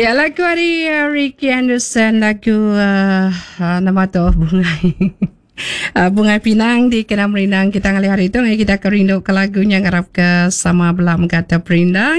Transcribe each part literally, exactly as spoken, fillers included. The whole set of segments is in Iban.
Ya, lagu ari uh, Ricky Anderson, lagu uh, uh, nama tu Bungai. Uh, Bungai Pinang di kena merindang kita ngalih hari tu. Ngai kita kerindu ke lagunya, ngarap ke sama bela mengkata perindang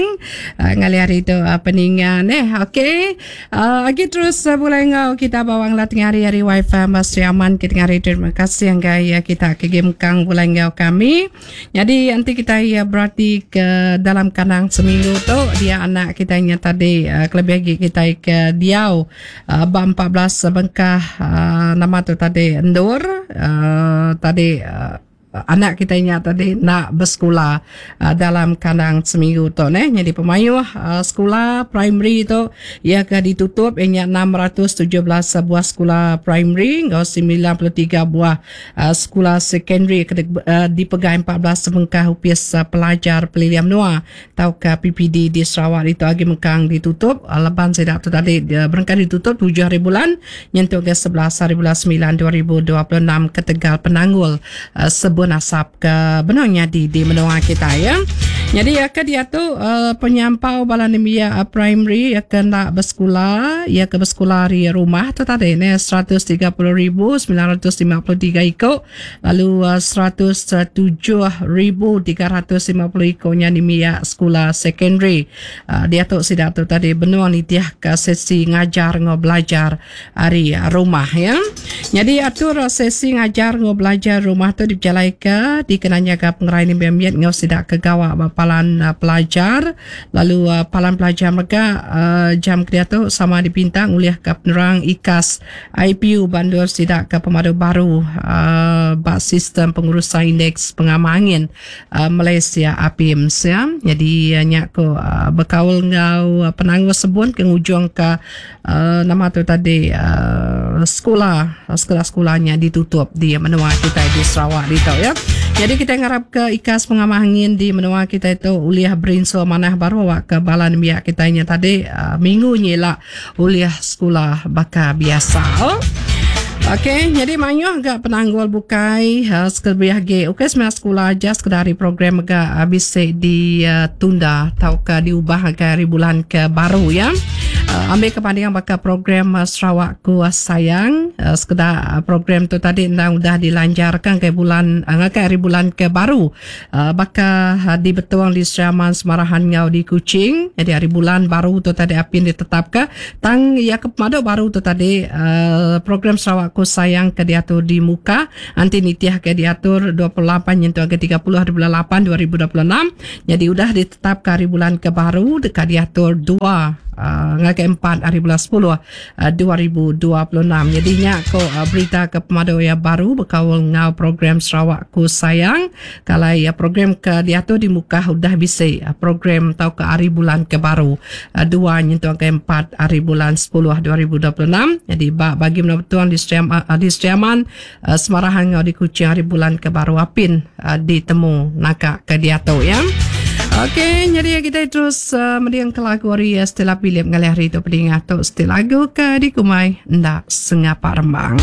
uh, ngalih hari tu uh, peningan eh. Okey. Uh, lagi terus uh, boleh ngau kita bawang lah tengah hari hari wifi Mas Aman kita tengah hari. Terima kasih yang ya kita ke game kang boleh ngau kami. Jadi nanti kita ya berarti ke dalam kandang seminggu tu dia anak kita nya tadi uh, kelebih lagi kita ke diau uh, empat belas bengkah uh, nama tu tadi endur uh, tadi uh, anak kita nya tadi nak bersekolah uh, dalam kandang seminggu tu neh. Jadi pemayuh uh, sekolah primary tu ia ke ditutup ianya enam ratus tujuh belas buah sekolah primary ngau sembilan puluh tiga buah uh, sekolah secondary ke uh, dipegai empat belas bengkah upis uh, pelajar pelilian menua tau ke P P D di Sarawak itu agi mengkang ditutup uh, leban sedak tu tadi uh, berengkah ditutup tujuh hari bulan nyentuh ke sebelas hari bulan sembilan dua ribu dua puluh enam ketegal penanggul uh, sebut asap ke benarnya di di menua kita ya. Jadi ya ke dia tu uh, penyampau bala nembiak uh, primary ya ke nak bersekolah ya ke bersekolah di rumah tu tadi ne seratus tiga puluh ribu sembilan ratus lima puluh tiga iko, lalu uh, seratus tujuh ribu tiga ratus lima puluh iko nya nembiak sekolah secondary. Uh, dia tu sidak tu tadi benua nitiah ke sesi ngajar ngau belajar hari rumah ya. Jadi atur sesi ngajar ngau belajar rumah tu dijalai ke dikenanya ke pengerai ni biar ngau sidak ke gawak palan uh, pelajar, lalu uh, palan pelajar mereka uh, jam kedia tu sama dipintang oleh ke penerang I K A S I P U bandur sidak ke pemadu baru uh, bak sistem pengurusan indeks pengamangin uh, Malaysia A P I M S ya. Jadi uh, nyak ko uh, berkaul ngau uh, penangguh sebun ke ujung ke uh, nama tu tadi uh, sekolah sekolah-sekolahnya ditutup di menua kita di Sarawak di tu ya. Jadi kita ngarap ke I K A S pengamangin di menua kita itu uliah berinsul manah baru awak ke balan biak kita nya tadi uh, minggu ni lah uliah sekolah bakal biasa. Oh. Okey, jadi mayuh agak penanggul bukai uh, sekelebih lagi. Okey, sebenarnya sekolah aja sekedar program agak uh, bisa ditunda uh, atau ke diubah ke hari bulan ke baru ya. Uh, ambil kebandingan bakal program uh, Sarawakku Sayang uh, sekedar uh, program tu tadi endang udah dilancarkan ke bulan uh, ke hari bulan ke baru uh, bakal uh, dibetuang di Seraman Semarahan ngau di Kuching. Jadi hari bulan baru tu tadi apin ditetapkan tang ya ke pemadu baru tu tadi uh, program Sarawak Ku Sayang ke diatur di muka anti nitiah ke diatur dua puluh lapan nyentuh ke tiga puluh hari bulan lapan dua ribu dua puluh enam. Jadi udah ditetapkan hari bulan ke baru dekat diatur dua Uh, ngagai empat hari bulan sepuluh uh, dua ribu dua puluh enam. Jadinya ko uh, berita ke pemadu yang baru berkawal ngau program Sarawakku Sayang. Kalau ya program ke diatur di muka udah bisa uh, program tau ke hari bulan ke baru uh, dua nyentuh ke empat hari bulan sepuluh dua ribu dua puluh enam. Jadi bagi menentuan di Sriam, uh, di Sriaman uh, Semarahan ngau di Kuching hari bulan ke baru apin uh, ditemu naka ke diatur ya. Okey, jadi kita terus uh, mendiang ke lagu hari uh, setelah pilih mengalih hari itu pendingat tu setelah lagu ke di kumai ndak sengapa rembang.